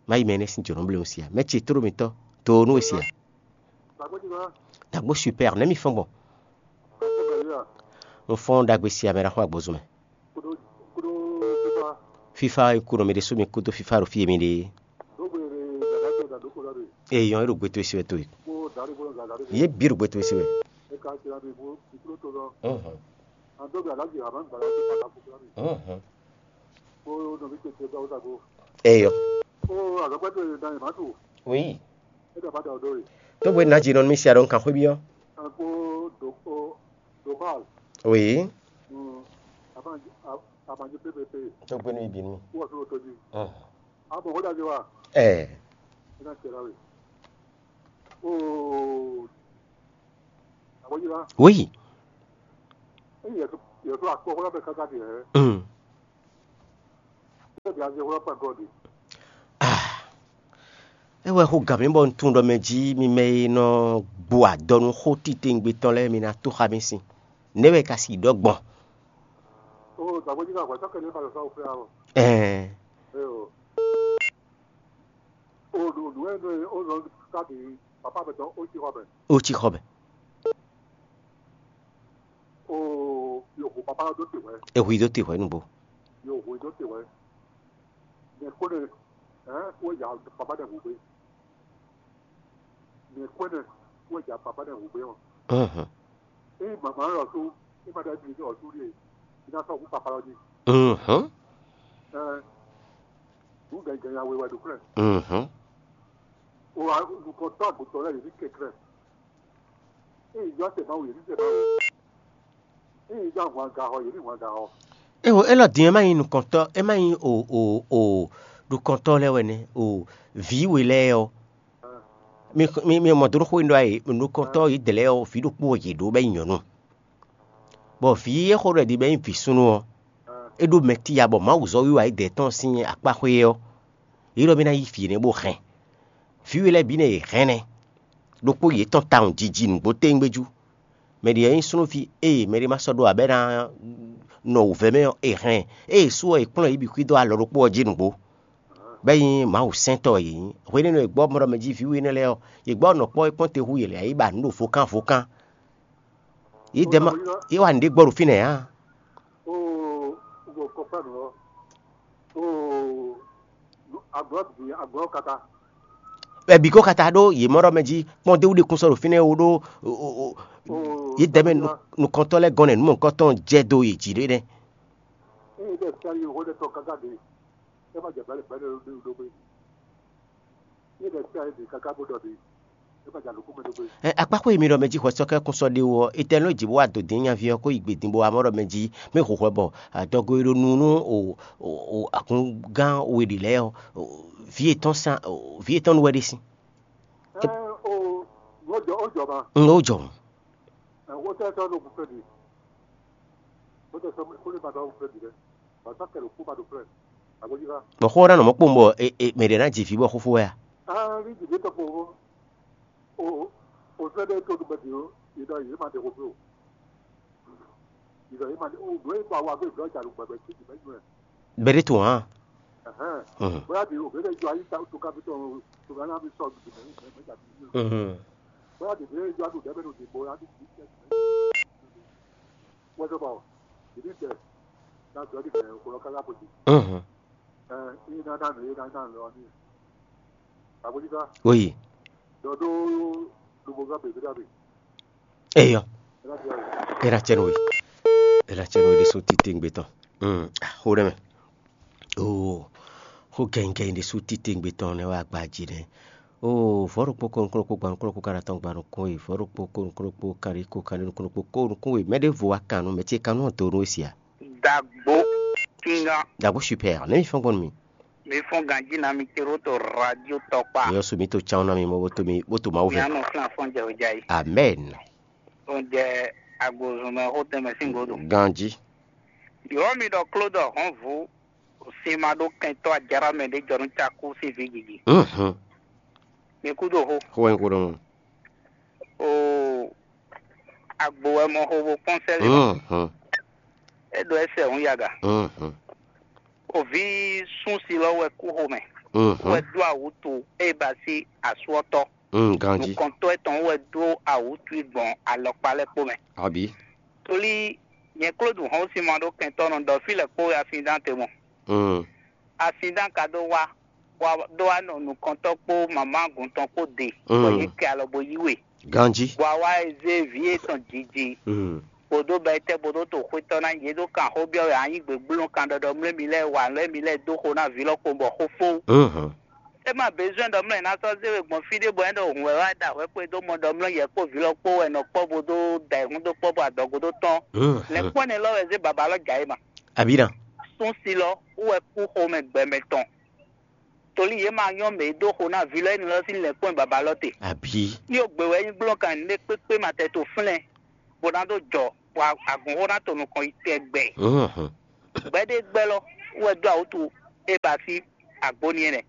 má yi mɛ énɛ́ sín jǒnɔ blé si ǎ. Mɛ ce tló mitɔ́, to nú we si ǎ. Dǎgbó super, nɛ̌ mi fɔ́n gbɔn? Un fɔ́n ɖagbe si ǎ, mɛ ɖaxó agbozún mɛ. Fífá e kú nɔ mi ɖésú mi kúdó fífá ɖo fí e mi ɖe é. Ee, yɔn e ɖo gbe towe si wɛ towe. Yě bǐ ɖo gbe towe si wɛ. Ɔ́hɔn. Ɔ́hɔn. Eyɔ. Oui. Tó bwe nǎ jǐ nɔ nú mì sia ɖo un kan xwé byɔ́. Oui. Tó gbe nú mi bǐ nú mì. Ɛɛ. Oui. Mm. Ah. É wɛ xo gǎn mì bɔ un tunwun ɖɔ mɛ jí mi mɛ e nɔ gbo adɔ nú xó titewungbe tɔn lɛ́ɛ, mi ná tó xá mì sin. Nɛ̌ wɛ è ka si ɖɔ gbɔn? Ɛɛ. Ó cí xɔ mɛ. È hu i dó te hwɛ̌ nǔgbó. Ɔ́hɔn. Ɔ́hɔn. Ɔ́hɔn. Ewo, élɔ́ din ɔ́, é má nyí nukɔntɔ́, é má nyí o o o Ɖo kɔntɔ́ lɛ́ɛ wɛ nɛ́ o, vǐ we lɛ́ɛ ɔ́, mi mi mi mɔ dó xó e un ɖɔ wɛ, nukɔntɔ́ yědɛɛ lɛ́ɛ ɔ́, vǐ ɖokpó wɛ yě ɖó bɔ é nyí nyɔ̌nu. Bɔ vǐ e xó ɖɔ è ɖi bɔ é nyí vǐ súnnu ɔ́, é ɖó mɛtíya bɔ Mawu zɔ́n wiwa yědɛɛ tɔn sín akpá xwé ɔ́, yě ɖɔ mì ná yí vǐ énɛ́ bó hɛn. Vǐ we lɛ́ɛ bǐ nɛ́ yě hɛn nɛ́, ɖokpó yětɔn tawun jiji nǔgbó téwúngbéjú. Mɛ ɖě nyí súnnuví e mɛ ɖé ma sɔ́ ɖó ǎ bɔ é ná nɔ wǔvɛ́ mɛ ɔ́, è hɛn ɛ. Ée è sú ɔ́, è kplɔ́n yě bǐ xwídó alɔ ɖokpó ɔ́ jí nǔgbó. Bɔ é nyí Mawu sɛntɔ́ wɛ yě nyí. Hwenɛ́nu e è gbɔ mɔ ɖɔ mɛ jí vǐ we énɛ́ lɛ́ɛ ɔ́, yě gbɔ nɔ kpɔ́ é kpɔ́n te hú yě lɛ́ɛ, yě ba nǔ ɖo vokán vokán. Yědɛɛ ma yě wa nǔɖé gbɔ ɖo fínɛ́ ǎ. Oo, un ɖo kɔkpá nǔ ɔ́. Oo, agblɔ bǐ agblɔ kata. Bɔ bǐ ko kata ɖó yě mɔ ɖɔ mɛ jí kpɔ́n dé wú ɖe kún sɔ́ ɖo fínɛ́ ó ɖó Oo, yědɛɛ mɛ nukɔntɔ́ lɛ́ɛ gɔ́n nɛ́ nǔ mɔ̌hunkɔtɔn jɛ dó yě jí ɖé nɛ́. Ée ɖe fia yi hó ɖe tɔn káká ɖe, é ma jɛ bɛ̌ bɛ̌ ɖo ɖo ɖo xwé. Ée ɖe fia yi ɖe káká bó ɖɔ ɖe, é ma jɛ alɔkún mɛ ɖo xwé. Ɛ, akpákpó e mi ɖɔ mɛ jí hwɛsɔ́kɛ́ kún sɔ́ ɖé wú ɔ́, etɛ́ nɔ jǐ bó wá dǒ dín nyaví ɔ́ kó yi gbě din bó wá mɔ ɖɔ mɛ jí mɛ xwexwɛ bɔ adɔgo e ɖo nu nú o o o akungán we ɖě lɛ́ɛ ɔ́, o, vǐ yětɔn sán o, vǐ yětɔn nu wɛ ɖe sín. Ɛɛ o, wọ́n jọ ó jọ ma. N ó jɔ. Ɛ wọ́n tẹ́ sọ́nù òkú fẹ́ di. Wọ́n tẹ́ sọ́nù òkú fẹ́ di rẹ. Bàtà kẹlẹ̀ òkú ma ɖo fẹ́. Àgbẹ̀jìká. Bɔ xó ɔ́ ná nɔ mɔ̌ kpowun bɔ e e mɛ ɖě ná ji vǐ bɔ xóxó wɛ a? Aa ní jìbí tɔkpɔ o o o fẹ́ ɖé tó ɖu bɛ di o. Ìdá yìí ma ɖe xó fí o. Ìdá yìí ma ɖe o. Nǔ e ba wa gbé ìdá ìjà ló gbẹgbẹ tí ìdí bẹ́ẹ̀ yún ẹ̀. Bɛ́ ɖé tun hǎn. Ɛhɛn. Mhm. Bóyá bí o bɛ jọ ayé ta tó ká fi tɔn o tó ká ná fi sọ gbèsè mɛ mɛ mɛ jà bí. Mhm. Bóyá bí bɛ jọ àtò dɛbɛ no dìbò yá tó kì í tẹ. Wọ́n sọ bọ̀ ìdí tẹ ná jọ ní bẹ̀rẹ̀ kó lọ kára bó ti. Mhm. Ẹ ní ná ná ní ná ná lọ ní. Àbójútó. Oyi. Dɔ dó lóbo gá bèbè dàbí. Eyɔ. Ẹ ná jẹ o. Ena cɛn we. Ena cɛn we ɖésú títí ŋgbé tɔn. Mm. Xó ɖé mɛ. Oo, xó gɛngɛn ɖésú títí ŋgbé tɔn nɛ́ wá gbají nɛ́. Oo, vɔ̌ ɖokpó kó nukúnnú kpó gban nukúnnú kpó káɖá tɔn gban nukún we, vɔ̌ ɖokpó kó nukúnnú kpó káɖí kó káɖí nukúnnú kpó kó nukún we. Mɛ ɖěvo wá kan nú mɛ ce kan nú ɔ́ do nú we sia. Dagbo kinga. Dagbo super, ne mi fɔn gbɔn mi. Mi fɔn ganji na mi ce ɖo to radio tɔkpa. Yɔ su mi to tsan na mi mɔ bó to mi bó to Mawu vɛ. Mi anɔ fún afɔn jɛ o jai. Amen. O jɛ agbozun mɛ xó tɛmɛ sín godo. Ganji. Yɔ mi ɖɔ kló ɖɔ hɔn vu. Sin ma ɖó kɛntɔ́ ajaɖa mɛ ɖé jɔ nú cakú sín vǐ gigi. Mhm. Mi kú ɖo xó. Xó wɛ nyí xó ɖɔhun. Oo, agbo wɛ mɔ xo bo kpɔ́n sɛ́ lě mɛ. Mhm. É ɖo ɛsɛ hǔn yaga. Mhm. Oví sún si lɔ wɛ kú xomɛ. Mhm. Wɛ ɖó awǔtu ée ba sí asú ɔ́ tɔ́. Mm, ganji. Nukɔntɔ́ etɔn wɛ ɖó awǔtu i gbɔn alɔkpa lɛ́ɛ kpó mɛ. Abi. Tóli nyɛ Klódu hɔn sín ma ɖó kɛntɔ́ nɔ ɖɔ fí lɛ́ɛ kpó wɛ asin dán te mɔ. Mm. Asin dán ka ɖó wá wá ɖó wá nɔ nukɔntɔ́ kpó mamá gǔntɔn kpó de, bɔ yě kɛ alɔ bo yí we. Ganjí. Bɔ a wá e zé vǐ yětɔn jiji, bó dó bɛ́ tɛ́ bó dó to xwé tɔn ná yě ɖó kan xó byɔ́ wɛ a nyí gběgbló kan ɖɔɖɔ mlɛ́ mi lɛ́ɛ wa mlɛ́ mi lɛ́ɛ dó xo ná vǐ lɔ kpowun bɔ xó fó. É ma bezwɛ́n ɖɔ mlɔ́ è nǎ sɔ́ zé we gbɔn fí ɖé bɔ é ɖo hǔn wɛ wá ɖa hwɛ kpé dó mɔ ɖɔ mlɔ́ yɛ kpó vǐ lɔ kpó wɛ nɔ kpɔ́ bó dó da ayǐhún dó kpɔ́ bɔ adɔgo dó tɔ́n. Lɛ̌nkpɔ́n énɛ́ lɔ wɛ zé babá lɔ jǎ é ma. Abǐ ná. Sún si lɔ wú wɛ kú xomɛ gbɛmɛ tɔn. Tolí yě ma nyɔ́ mɛ e dó xo ná vǐ lɔ énɛ́ lɔ sín lɛ̌nkpɔ́n baba lɔ te. Abǐ. Ní o gbě wɛ nyí gblɔ́kan nǔɖé kpékpé ma tɛ to flɛ́n, bó ná dó jɔ, bɔ agunxó ná to nukɔn yi tɛgbɛ. Gbɛɖégbɛ́ lɔ wɛ dó awútu é ba sí agbóni énɛ́.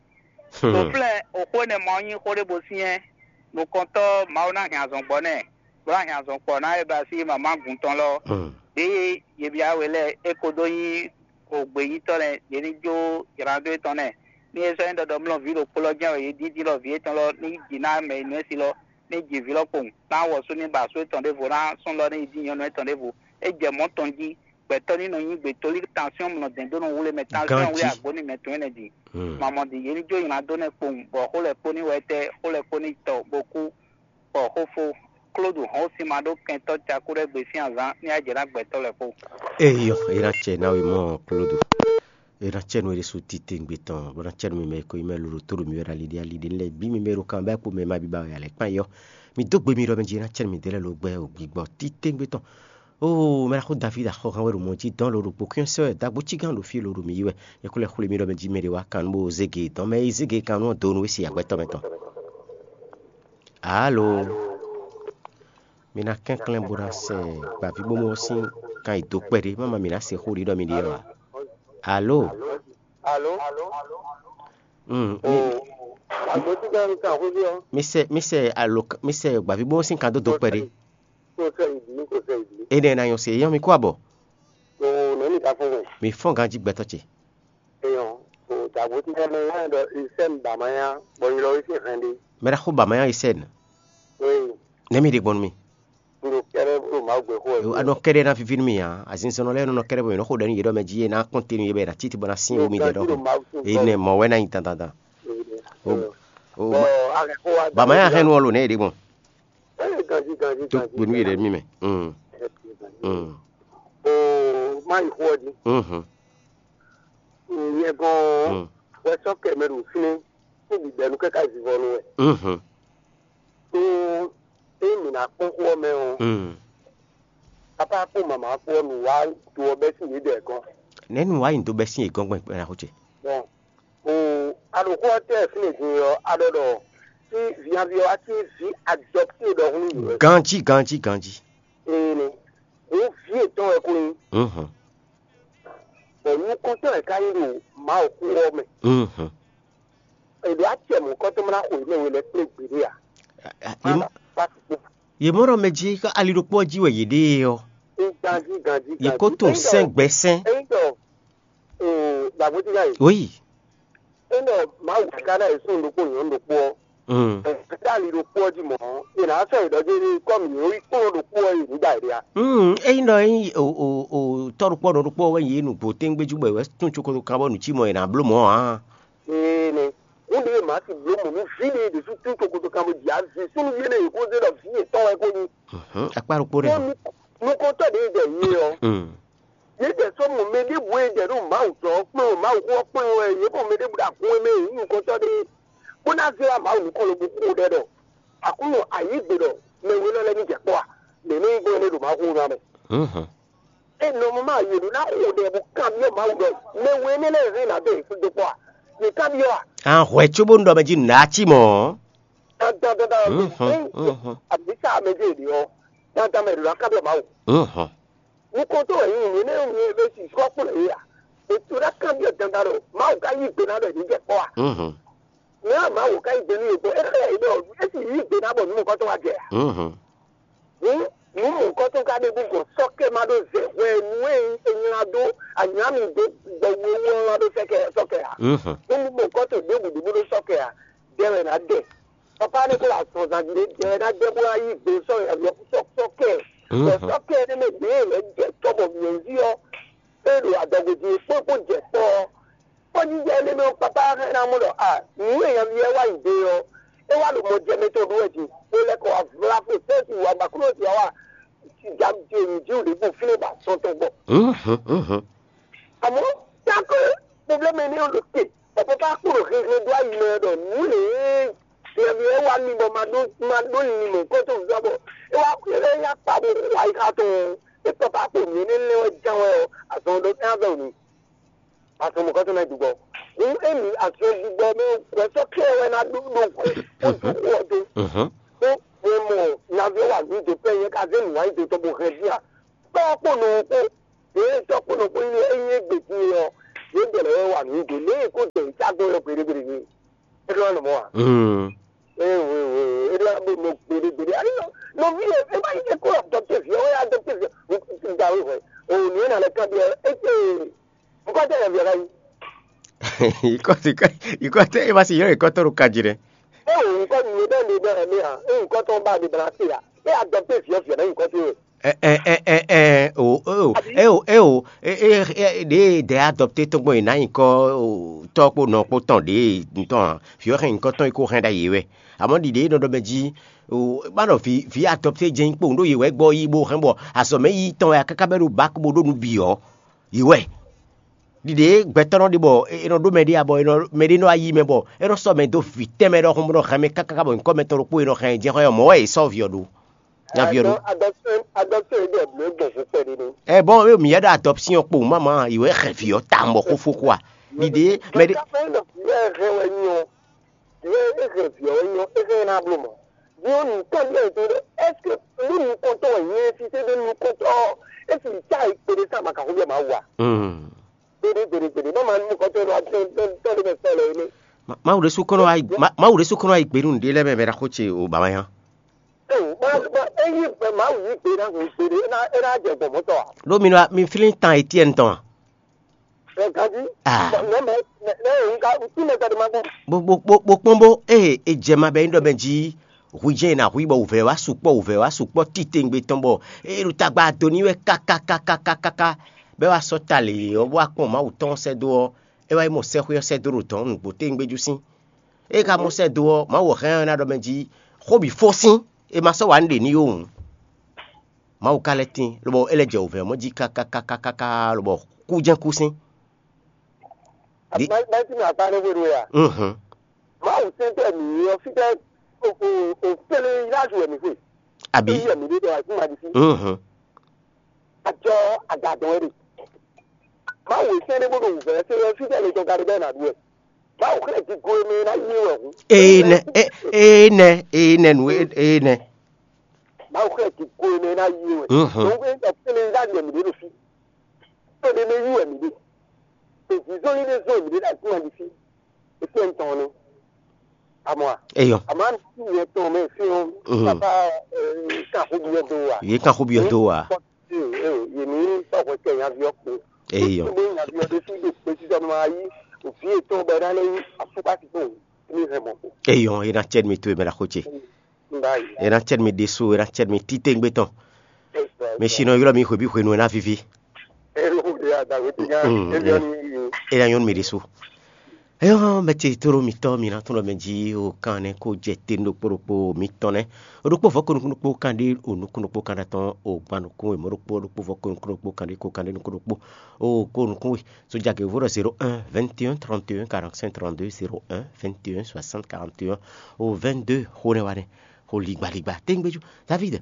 To flɛ́n òxó énɛ́ ma ɔ́ nyí xó ɖé bo syɛ́n nukɔntɔ́ Mawu ná hɛn azɔn gbɔ nɛ́, bó ná hɛn azɔn kpɔ ná é ba sí mama gun tɔn lɔ. Ɖěe yě byá we lɛ́ɛ é ko dó nyí ògběnyítɔ́ lɛ́ɛ, yě ní jó ylǎ dó étɔn nɛ́. Ní é sɔ́ nyí ɖɔ ɖɔmlɔ́ vǐ ɖokpó lɔ jɛ́n wɛ yě dídí lɔ vǐ étɔn lɔ ní yi jǐ ná mɛ e nǔ é si lɔ, ní ji vǐ lɔ kpowun, ná wɔ̌ sú ní ba asú étɔn ɖěvo, ná súnnu lɔ ní yi dín nyɔ̌nu étɔn ɖěvo. É jɛ mɔ̌ tɔn jí, gbɛtɔ́ ní nɔ nyí gbětóli, tansyɔ́n nɔ dɛn dó nɔ wlé mɛ, tansyɔ́n wlé agbǒ nú mɛ tɔn énɛ́ din. Mamɔ din, yě ní jó nylá dó nɛ́ kpowun, bɔ xó lɛ́ɛ kpó ní wɛ tɛ́, xó lɛ́ɛ kpó ní tɔ bó kú, bɔ xó fó. Klódu hɔn ó sin ma ɖó kɛntɔ́ cakú ɖɛ́ gbe sín azǎn ní ajɛ ná gbɛtɔ́ lɛ́ɛ kpó. Eyɔ, é ná cɛ ná we mɔ Klódu. É ná cɛ nú é ɖésú titewungbe tɔn, bó ná cɛ nú mi mɛ e ko nyí mɛ lolo tó ɖo mi wɛ ɖo ali ɖé ali ɖé lɛ́ɛ bǐ mi mɛ e ɖo kan bɛ́ kpo mɛ ma bíbá wɛ alɛ kpán yɔ. Mi dó gbe mi ɖɔ mɛ jí é ná cɛ nú mi dé lɛ́ɛ ló gbɛ o gbigbɔ titewungbe tɔn. Oo, mɛ ɖaxó Davídi axɔ́hán wɛ ɖo mɔ jí dɔn lo ɖokpó, kúnnyɛ́ sɛ́ wɛ dagbo cígán ɖo fí lo ɖo mǐ yi wɛ. Yɛkúlɛ́ xwlé mì ɖɔ mɛ jí mɛ ɖě wá kan nú bó zé ge dɔn mɛ e zé ge kan nú ɔ́ dó nú we se agbɛtɔ́ mɛ tɔn. Alo, mi ná kɛnklɛ́n bó ná sɛ gbavǐbówú ɔ́ sín kan yi dó kpɛɖé, má ma mǐ ná se xó ɖiɖɔ mi ɖe ɔ́ ǎ. Alo, Alo, mm, mi, o, agbo tí bá ń kan xwé ɔ́, mi sɛ mi sɛ alo mi sɛ gbavǐbówú sín kan dó dó kpɛɖé. Kò sɛ ìdí, kò sɛ ìdí. Énɛ́ ná nyɔ́ se yɔ́n mi kó abɔ. O, nɛ̌ mi ka fún mɛ? Mi fɔ́n ganjí gbɛtɔ́ ce. Eyɔn, o, dagbo tí bá mɛ wá ɖɔ isɛ́ mi bà ma ya, bɔ nyi lɔ wé sín hɛn ɖé. Mɛ ɖaxó ba ma nyɔ́ yi sɛn. Oyi, Nɛ̌ mi ɖe gbɔn nú mi? n ɖo kɛɖɛ ɖo Mawu gbe xó Yo, a nɔ kɛɖɛ ná viví nú mi ǎ. Azinzɔnnɔ lɛ́ɛ nɔ nɔ kɛɖɛ bɔ mi nɔ xo ɖɛ nú yě ɖɔ mɛ jí yé ná kpɔ́n te nú yě bɔ yě ná títí bɔ ná sín wú mi ɖɛ ɖɔhun. Énɛ́ mɔ̌ wɛ ná nyi dandandan. O, Bɔ, akɛ xó wa. Ba ma nyɔ́ hɛn nú ɔ lo nɛ̌ yě ɖe gbɔn. Ee, ganji, ganji, Tó ganji. kpe nú yě ɖe mí mɛ. Mm, mm, O, má yi xó ɔ́ jí. mhm, Nyɛ gɔn mm, wɛ sɔ́ kɛ mɛ ɖo fínɛ́, kó bǐ bɛ́ nú kɛ́ ká zivɔ nú wɛ. mhm, Tó é mǐ ná kpɔ́n xó ɔ́ mɛ ɔ́, mm. Papa kpó mama kpó ɔ́, nǔ wá do ɔ́ bɛ́ sín yědɛɛ gɔ́n. Nɛ̌ nu wá nyi dó bɛ́ sín yě gɔ́n gbɛn gbɛn xó ce? Bɔn o, a ɖo xó ɔ́ tɛ fínɛ́ din ɔ́, a ɖɔ ɖɔ sí vǐnyaví ɔ́ wá sí vǐ adɔpté ɖɔhun nú yě wɛ. Ganjí, ganjí, ganjí. Ee ni, wǒ vǐ yětɔn wɛ ko nyí, Mhm, bɔ nukɔntɔn wɛ ka nyí ɖo Mawu xó ɔ́ mɛ. mhm. È ɖo acɛ mɔ̌kɔ́tɔn mɔ ná xo yě mɛ we lɛ́ɛ kplé gbeɖé ǎ. A- a- Yě mɔ- Pasi kpo. yě mɔ ɖɔ mɛ jí ká ali ɖokpó ɔ́ jí wɛ yě ɖe ɔ́, Ganjí, ganjí, yě kó tunwun sɛn gbɛ sɛn. Eyi dɔ o, dàgbò tí ká yìí. Oyi. Eyi dɔ Mawu ká ná yě sún ɖokpó nyɔ̌nu ɖokpó ɔ́. Mm. Ɛ, tá ali ɖokpó ɔ́ jí mɔ̌, è nǎ sɔ́ yě ɖɔ jí kɔ́mi yě wí kplɔ́n ɖokpó ɔ́ yě ní ɖa yě ɖe a? Mm, eyi nɔ yin o o o tɔ́ ɖokpó nɔ ɖokpó wɛ yě nǔgbó tɛ́ngbéjú bɔ wɛ tún tsokoto kan bɔ nǔ cí mɔ yě ná bló mɔ̌ ǎ. Ee nɛ, ŋúɖe e màá si bló mɔ̌ nú fí ɖé ɖésú tún tokotokán bó jɛ azǐ súnnu yé ɖé yě kó zé ɖɔ vǐ yětɔn wɛ kó nyí. Mhm, akpá ɖokpó ɖé. Nú nukɔntɔ́ ɖě jɛ yě ɔ́, Mm, yě jɛ sɔ́ mɔ mɛ ɖěbǔ e jɛ ɖo Mawu tɔn kplɔ́n Mawu xó ɔ́ kplɔ́n wɛ, yě mɔ mɛ ɖěbǔ ɖo agun e mɛ yě nyí nukɔntɔ́ ɖé, bó ná zé wá Mawu nukɔn lobo xo ɖɛ ɖɔ Aklúnɔ ayǐgbe ɖɔ mɛ we lɔ lɛ́ɛ ní jɛ kpɔ́ a? Mɛ nɔ nyí gbɔn énɛ́ ɖo Mawu xó ná mɛ. mhm. E nɔ mɔ ma yě ɖó ná xo ɖɛ bó kanbyɔ́ Mawu ɖɔ mɛ we énɛ́ lɛ́ɛ hɛn ná dó yě dó kpɔ́ a? Yě kanbyɔ́ a? An hwɛ cóbó nɔ mɛ jí nǔ ɖá cí mɔ̌. Dandan dandan Mhm, mhm. Àbísà mɛ dé èdè ɔ́, dandan mɛ ɖo ná kanbyɔ́ Mawu. Mhm, Nukɔntɔn wɛ nyí nǔ énɛ́ nyí ebe si sɔ́ kplɔ́n yě a? Ètò ná kanbyɔ́ dandan ɖɔ Mawu ka yí gbe ná ɖɔ yě ní jɛ kpɔ́ a? mhm, Mɛ a Mawu ka yí gbe nú yě gbɔn, é xlɛ́ yě ɖɔ é sì yí gbe ná bɔ nǔ mɔ̌kɔtɔn wá jɛ a? mhm. Hǔn nǔ mɔ̌kɔtɔn ka ɖe bú gbɔn sɔ́ kɛ ma ɖó zɛ hwɛ nú e è nylá dó anyǎ mi dó gbɔ wéwú ɔ́ wá ɖó sɔ́ kɛ sɔ́ kɛ a? Mhm. Nú mɔ̌kɔtɔn ɖěbǔ ɖěbǔ ɖó sɔ́ kɛ a? Dɛ wɛ ná dɛ. Papa ne ko la sɔn zan ɖe dɛ wɛ ná dɛ bó ná yí gbe sɔ́ yɛ sɔ́ sɔ́ kɛ. Bɔ Mhm. Sɔ́ kɛ ne mɛ ɖě lɛ jɛ tɔ́ bɔ mǐ zi ɔ́, é ɖo adɔgbe jí kpó kpó jɛ kpɔ́ ɔ́. Kpɔ́jijɛ énɛ́ mɛ ɔ́, Papa hɛn ná mɔ ɖɔ a nǔ e nyaví ɔ́ wa yi dé ɔ́, é wá ɖo mɔ jɛ mɛ tɔn ɖó wɛ din, bó lɛ́ kɔ wá vlá fó fɛ́si wá ba kúnɔ si wá ja je nǔ jí wǔ ɖé gbɔn fínɛ́ ba sɔn tɔn gbɔ. Mhm, mhm. Àmọ́, tákó pɔblɛ́mɛ énɛ́ ɔ́ ɖo te, bɔ Papa kpo ɖo hɛnhɛn dó ayi mɛ ɖɔ nǔ lě e nyaví ɔ́ wá mi bɔ ma ɖó ma ɖó linlin mɔ̌hunkɔtɔn zɔ́ bɔ é wá é lɛ́ yá kpa bó xo ayixa tɔn ɔ́, é Papa kpo nǔ énɛ́ lɛ́ɛ wɛ ján wɛ ɔ́, azɔn ɖɔ é ná vɛ wǔ n'i. Azɔn mɔ̌kɔtɔn ná dùgbɔ. Hǔn émí azɔn dùgbɔ mɛ wɛ sɔ́ kɛ wɛ ná ɖó ɖó hwɛ kó dó xó ɔ́ dó. Mhm. Bó hwɛ mɔ nyaví ɔ́ wà nǔ dó pɛ́ nyɛ ká zé nǔwanyido tɔn bó hɛn dín a. Tɔ́ kpó nɔ kpó, ɖě tɔ́ kpó nɔ kpó nyí ényí égbé din ɔ́, yě dɛ lɛ́ wɛ wà nǔ dó lě e kó dɛ yě cá gbɔn yɔ gbeɖé gbeɖé ní. É ɖó nɔ mɔ a? Mm. Ee we we we, é ɖó bó nɔ gbeɖé gbeɖé. Ayi nɔ nɔví e é má yi é kó adɔpté vǐ ɔ́, é adɔpté vǐ ɔ́, un da wé hwɛ. O nǔ e nà lɛ kanbyɔ́ é té nukɔn tɛ yɛ vǐ ɔ́ ká yí. Ikɔtɔ ikɔtɔ e ma si yɔrɔ ikɔtɔ ɖo kaji ɖe. É o nukɔn nǔ e bɛ ne bɛ ne a, é nukɔn tɔn ba de bla se a, é adɔpté vǐ ɔ́ vǐ ɔ́ ná nukɔn tɛ wɛ. Ɛ ɛ ɛ ɛ ɛ o o e o e o e e e ɖe dɛ adɔpté tɔn gbɔn yi na nyikɔ o tɔ kpo nɔ kpo tɔn ɖe ntɔn a fi ɔ hɛn nyikɔ tɔn yi ko hɛn ɖa yi wɛ amɔ ɖiɖe nɔ ɖɔ mɛ jí o ba nɔ vi vi adɔpté jɛ nyikpo ɖo yi wɛ gbɔ yi bo hɛn bɔ azɔ mɛ yi tɔn wɛ kaka bɛ ɖo bak bo ɖo nu bi ɔ yi wɛ ɖiɖe gbɛtɔ nɔ ɖe bɔ e nɔ ɖo mɛ ɖe abɔ e nɔ mɛ ɖe nɔ ayi mɛ bɔ e nɔ sɔ mɛ do vi tɛmɛ ɖɔhun bɔ nɔ hɛn mɛ kaka bɔ nyikɔ mɛ tɔn ɖokpo e nɔ hɛn jɛ xɔ yɔ mɔ wɛ e sɔ vi ɔ ɖo. Nyaví ɔ́ ɖó. Adɔpté adɔpté ɖe bló gbɔn fún Ɛ bɔn ewé mǐ yɛ ɖo adɔpsiɔn kpo mama yi wɛ xɛ vǐ ɔ́ tawun bɔ xó fó xó a? Ɖiɖe mɛ ɖé. Ká fɛn ɖɔ vǐ wɛ hɛn wɛ nyɔ, vǐ wɛ é hɛn vǐ ɔ́ wɛ nyɔ, é hɛn ná bló mɔ. Nyɔ nǔkɔn ɖé to ɖe, est-ce que nú nukɔntɔ́ wɛ nyɛ si se ɖe nukɔntɔ́ ɔ́, é si ta yi kpe ɖé sa ma ka xó bia ma wa? Gbeɖé gbeɖé gbeɖé, bá ma nukɔntɔ́ ɖo atɔn tɔn ɖé mɛ sɔ lɛ énɛ́. Mawu ɖésú kɔnɔ wá yi gbe nú nǔɖé lɛ́ɛ mɛ mɛ ɖaxó ce o baba nya. Ényí Mawu yí gbe ná hun gbeɖé, é ná é ná jɛ gbɔn mɔtɔ a? Ɖó mi nɔ mi flín tan Etiɛ́ni tɔn a? Ɛ ganjí. Ah. Nɛ mɛ nɛ nɛ òun ka tí mɛ tɔɖé ma gbɔn. Bo bo bo bo kpɔ́n bó eye è jɛ ma bɛ nyí ɖɔ mɛ jí hu jɛ́n è nǎ hu i bɔ wǔvɛ́ wá sukpɔ́ wǔvɛ́ wá sukpɔ́ titewungbe tɔn bɔ eye ɖo tagba do n'i wɛ kákákákákáká bɔ é wá sɔ́ ta lě ɔ́ bó wá kpɔ́n Mawu tɔn ɔ́ sɛ́ dó ɔ́, é wá yi mɔ sɛ́xwé ɔ́ sɛ́ dó ɖo dɔ̌n nǔgbó tewungbe jú sín. Ée ka mɔ sɛ́ dó ɔ́, Mawu ɔ́ hɛn ɔ́ ná ɖɔ mɛ jí xó bǐ fó sín, è ma sɔ́ wǎ nú ɖě n'i ó hǔn. Mawu ka lɛ́ tín, lobɔ é lɛ́ jɛ wǔvɛ́ ɔ́ mɔ jí kákákákáká, lobɔ kú jɛ́n kú sín. Di- Báyìí tí mi àgbá ní wéru ya. Mhm. Mawu sɛntɛ mi yɔ fítɛ òfele yájú ẹ̀ mi fwe. Àbí? Yíyẹ mi ɖé dɔ àìsí ma di sí. Mhm. Àjọ àgàdàn ẹ̀ rè. Mawu sɛn ɖé bó ɖo wǔvɛ́ ṣe yɔ fítɛ lè tɔn ka ɖé bẹ́ẹ̀ nà ɖu ẹ̀. Mawu xlẹ̀ di go eme ná yé wẹ̀ hǔn. Ee nɛ, ee nɛ, ee nɛ nu, ee nɛ. Mawu xlẹ̀ di go eme ná yé wẹ̀. Mhm. Òun bɛ sɔ fele yájú ẹ̀ mi ɖé ɖo fí. Tó ɖé mɛ yí wɛ mǐ ɖe. Èzǐzɔ́n yi ɖé zɔ́n mǐ ɖé ɖo ayǐkúngban ɖi fí. Etí ẹ̀ ń tɔn ní. Àmọ́ à? Eyɔ. Àmọ́ àmì tí ìyẹn tɔn mɛ fí ɔ́n. Mhm. Papa kan xó bí ɔ́ dó wa. Yě kan xó bí ɔ́ dó wa. Yèmí sɔ̀kò tẹ̀ nyaví ɔ́ kpo. Eyɔ. Tó gbé nyaví ɔ́ ɖé sí ɖo pé títọ́ máa yí. Òfin ètò ọgbẹ́ náà lẹ́yìn àfúkà ti tó ní hẹ̀ mọ̀ kó. Eyɔ, é ná cɛ́ mi tó e mɛ ɖaxó ce. Báyìí. É ná cɛ́ mi ɖésú, é ná cɛ́ mi títewungbe tɔn. Mi si nɔ ylɔ́ mi hwebǐ hwenu e ná víví. Ero de adagbe ti nya. Mm, ebi mm. Ɔni. É ná nyɔ́ nú mi ɖésú. Eyɔ mɛ ce tóɖó mitɔ́ mi ná tún ɖɔ mɛ jí o kan nɛ́ kó jɛ te ɖokpó ɖokpó mitɔn nɛ́. O ɖokpó vɔ̌ ko nukún ɖokpó kan ɖé o nukún ɖokpó kan ɖé atɔn o gban nukún e mɔ̌ ɖokpó ɖokpó vɔ̌ ko nukún ɖokpó kan ɖé ko kan ɖé nukún ɖokpó o ko nukún we. Sójà gěvo ɖɔ zéro un vingt et un trente et un quarante-cinq trente-deux, zéro un vingt et un soixante quarante et un o vingt-deux xó nɛ́ wa nɛ́. Xó ligbaligba téŋgbéjú. David,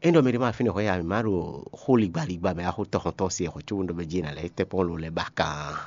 é ɖɔ mɛ ɖé ma fínɛ́ hwɛ ya mǐ ma ɖo xó ligbaligba mɛ axó tɔxɔntɔn se hwɛ̌ cóbó ɖɔ mɛ jí è nǎ lɛ́ tɛ́ kpɔ́n lo lɛ́ ba kan.